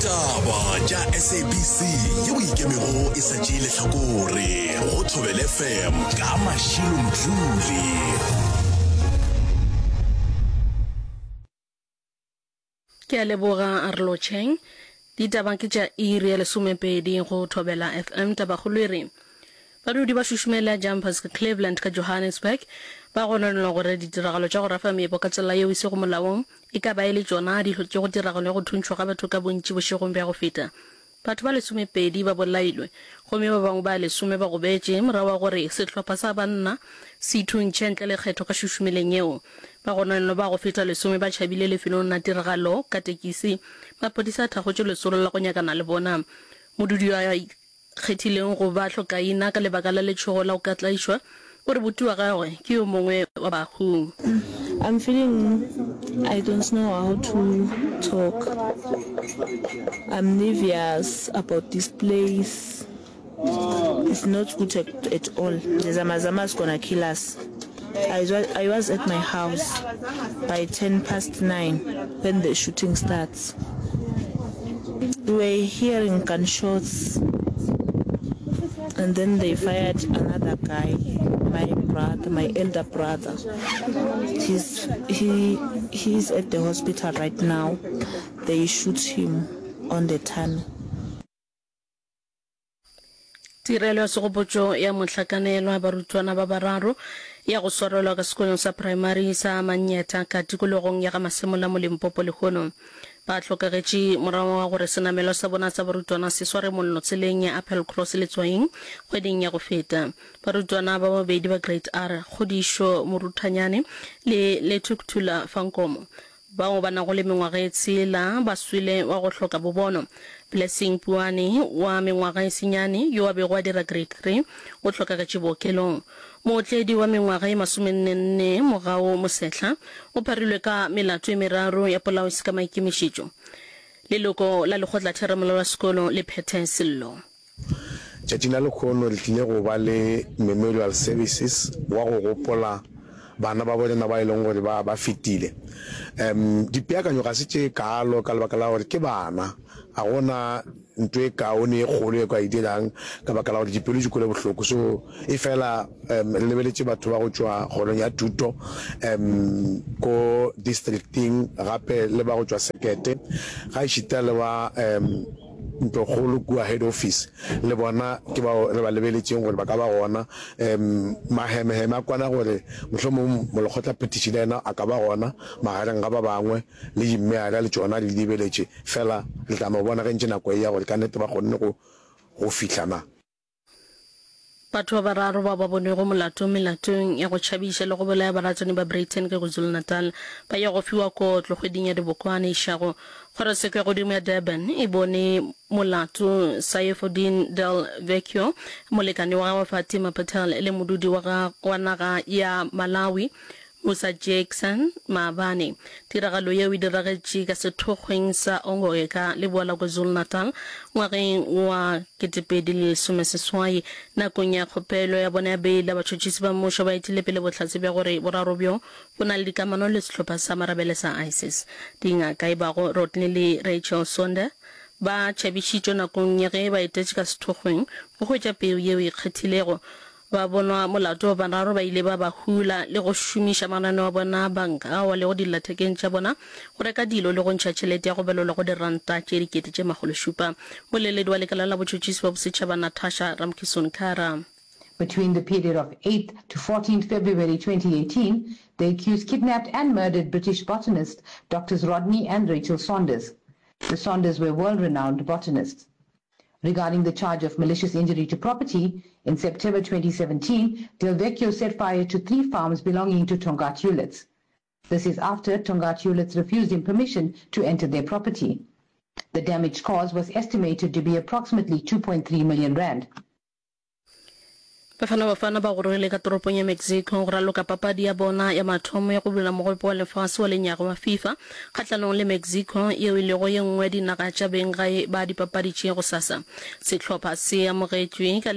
Ditaba tša SABC yeo e ikemego e sa tšee lehlakore go Thobela FM ka Mashilo Mdluli. Ke a leboga a re lotšheng. Ditaba ke tša iri ya lesomepedi go Thobela FM. Tabakgolo e re badudi ba šušumela Jumpers ka Cleveland ka Johannesburg ba gononelwa gore ditiragalo tša go rafa meepo ka tsela yeo e sego molaong e ka ba e le tšona di hlotšego tiragalo ya go thuntšhwa ga batho ka bontši bošegong bja go feta. Batho ba lesomepedi ba bolailwe gomme ba bangwe ba lesome ba gobetše morago ga gore sehlopha sa banna se ithuntšhe ntle le kgetho ka šušumeleng yeo. Bagononelwa ba go feta lesome ba tšhabile lefelong la tiragalo ka tekisi. Maphodisa a thakgotše lesolo la go nyakana le bona. Modudi yo a kgethileng go ba hlokaina ka lebaka la letšhogo la go ka tlaišwa o re buti wa gagwe ke yo mongwe wa bahu. I'm feeling I don't know how to talk I'm nervous about this place it's not good at, at all the zama zama is gonna kill us I, I was at my house by 10 past 9 when the shooting starts we were hearing gunshots and then they fired another guy my brother my elder brother he's he he's at the hospital right now they shoot him on the tummy Tirelo ya segopotšo ya mohlakanelwa barutwana ba bararo ya go swarelwa ka sekolong sa praemari sa Manyeta ka tikologong ya ga Masemola mo Limpopo lehono. Ba hlokagetše morago ga gore senamelwa sa bona sa barutwana se sware mollo tseleng ya Applecross Letswaing kgweding ya go feta. Barutwana ba babedi ba Grade R, Kgodišo Moruthanyane le Lethukuthula Fankomo, Bao ba nago le mengwaga e tshela ba swele wa go hloka bobono. Blessing Puane wa mengwaga e senyane yo a bego a dira Grade Three o hlokagetše bookelong. Mootledi wa mengwaga e masomennenne Mogau Mosehla o pharilwe ka melato e meraro ya polao e se ka maikemišetšo. Leloko la lekgotlatheramolao la sekolo le phethe sello. Tšatšing la lehono re tlile go ba le memorial services wa go gopola bana ba borena ba e leng gore ba ba fetile. Um dipeakanyo ga se tše kaalo ka lebaka la gore ke bana, ga go na ntho e kaone e kgolo e ka e dirang ka baka la gore dipelo di kwele bohloko. So e fela um re lebeletše batho ba go tšwa kgorong ya thuto um ko districting gape le ba go tšwa sekete ga ešita le ba um Ntlokgolo kua Head Office le bona ke bao re ba lebeletšeng gore ba ka ba gona. Um Mahemeheme a kwana gore mohlomong molekgotlaphethiši le yena a ka ba gona magareng ga ba bangwe, le dimmeara le tšona re di lebeletše, fela re tla no bona ge ntše nako e ya gore ka nnete ba kgonne go go fihla na. Batho ba bararo bao ba bonwego molato melatong ya go tšhabiša le go bolaya baratani ba Breyten ka KwaZulu-Natal ba ya go fiwa kotlo kgweding ya Dibokwane išago. Kgorotsheko ya godimo ya Durban e bone molato Saifuddin Del Vecchio, molekane wa gagwe Fatima Patel le modudi wa wa naga ya Malawi Musa Jackson maabane. Tiragalo yeo e diragetše ka sethokgweng sa Ongoye ka leboa la KwaZulu-Natal ngwageng wa 2018. Nakong ya kgopelo ya bona ya beila, batšhotšhisi ba mmušo ba etile pele bohlatse bja gore boraro bjo bo na le dikamano le sehlopha sa marabele sa ISIS. Dingaka e bago Rodney le Rachel Sonder ba tšhabišitšwe nakong ya ge ba etetše ka sethokgweng go hwetša peu yeo e ikgethilego. Ba bonwa molato ba bararo ba ile ba ba hula le go šomiša mananeo a bona a banka ao a lego dillathekeng tša bona go reka dilo le go ntšha tšhelete ya go balelwa go diranta tše 700. Moleledi wa lekala la botšhotšhisi ba bosetšhaba Natasha Ramkisson-Kara. Between the period of 8th to 14th February 2018, the accused kidnapped and murdered British botanists Doctors Rodney and Rachel Saunders. The Saunders were world-renowned botanists. Regarding the charge of malicious injury to property, in September 2017, Del Vecchio set fire to three farms belonging to Tongaat Hulets. This is after Tongaat Hulets refused him permission to enter their property. The damage caused was estimated to be approximately 2.3 million rand. Bafana Bafana ba gorogile ka toropong ya Mexico go raloka papadi ya bona ya mathomo ya go bula Mogopo wa Lefase wa Lenyaga wa FIFA kgahlanong le Mexico yeo e lego ye nngwe ya dinaga tša benggae ba dipapadi tše gosasa. Sehlopha se amogetšwe ka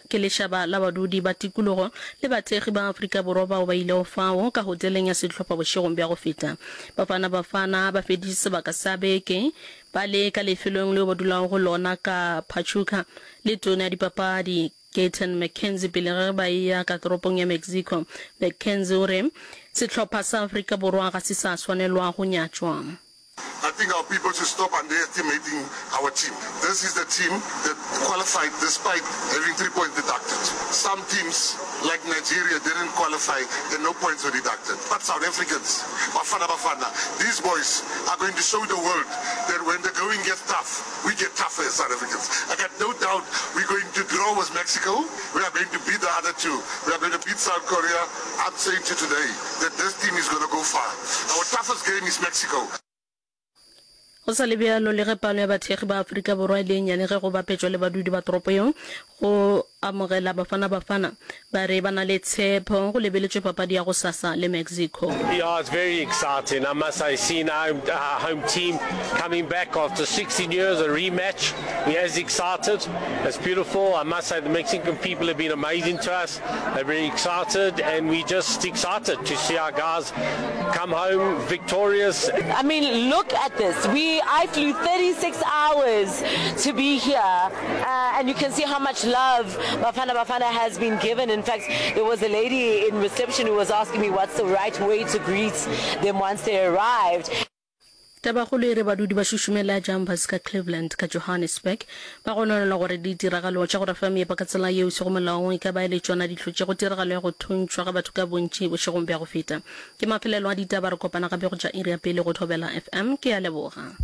ke lešaba la badudi ba tikologo le bathekgi ba Afrika Borwa bao ba ilego fao ka hoteleng ya sehlopha bošegong bja go feta. Bafana Bafana ba feditše sebaka sa beke ba le ka lefelong leo ba dulago go lona ka Pachuca le tona ya dipapadi Gayton McKenzie pele ge ba eya ka toropong ya Mexico. McKenzie o re sehlopha sa Afrika Borwa ga se sa swanelwa go nyatšwa. I think our people should stop underestimating our team. This is the team that qualified despite having 3 points deducted. Some teams like Nigeria didn't qualify and no points were deducted. But South Africans, Bafana Bafana, these boys are going to show the world that when the going gets tough, We get tougher as South Africans. I got no doubt we're going to draw with Mexico. We are going to beat the other two. We are going to beat South Korea. I'm saying to you today that this team is going to go far. Our toughest game is Mexico. Go sa le bjalo, le ge palo ya bathekgi ba Afrika Borwa e le e nnyane ge go bapetšwa le badudi ba toropo yeo, go amogela Bafana Bafana ba re ba na le tshepo go lebeletšwe papadi ya gosasa le Mexico. Yeah, it's very exciting. I must say, seeing our home, our home team coming back after 16 years, a rematch, we're as excited. It's beautiful. I must say, the Mexican people have been amazing to us. They're very excited, and we're just excited to see our guys come home victorious. I mean, look at this. We, I flew 36 hours to be here, uh, and you can see how much love Bafana Bafana has been given. In fact, there was a lady in reception who was asking me what's the right way to greet them once they arrived. Tabakgolo e re badudi ba šušumela Jumpers ka Cleveland ka Johannesburg ba gononela gore ditiragalo tša go rafa meepo ka tsela yeo e sego molaong e ka ba e le tšona di hlotšego tiragalo ya go thuntšhwa ga batho ka bontši bošegong bja go feta. Ke mafelelo a ditaba, re kopana gape go tša iri ya pele go Thobela FM. Ke a leboga.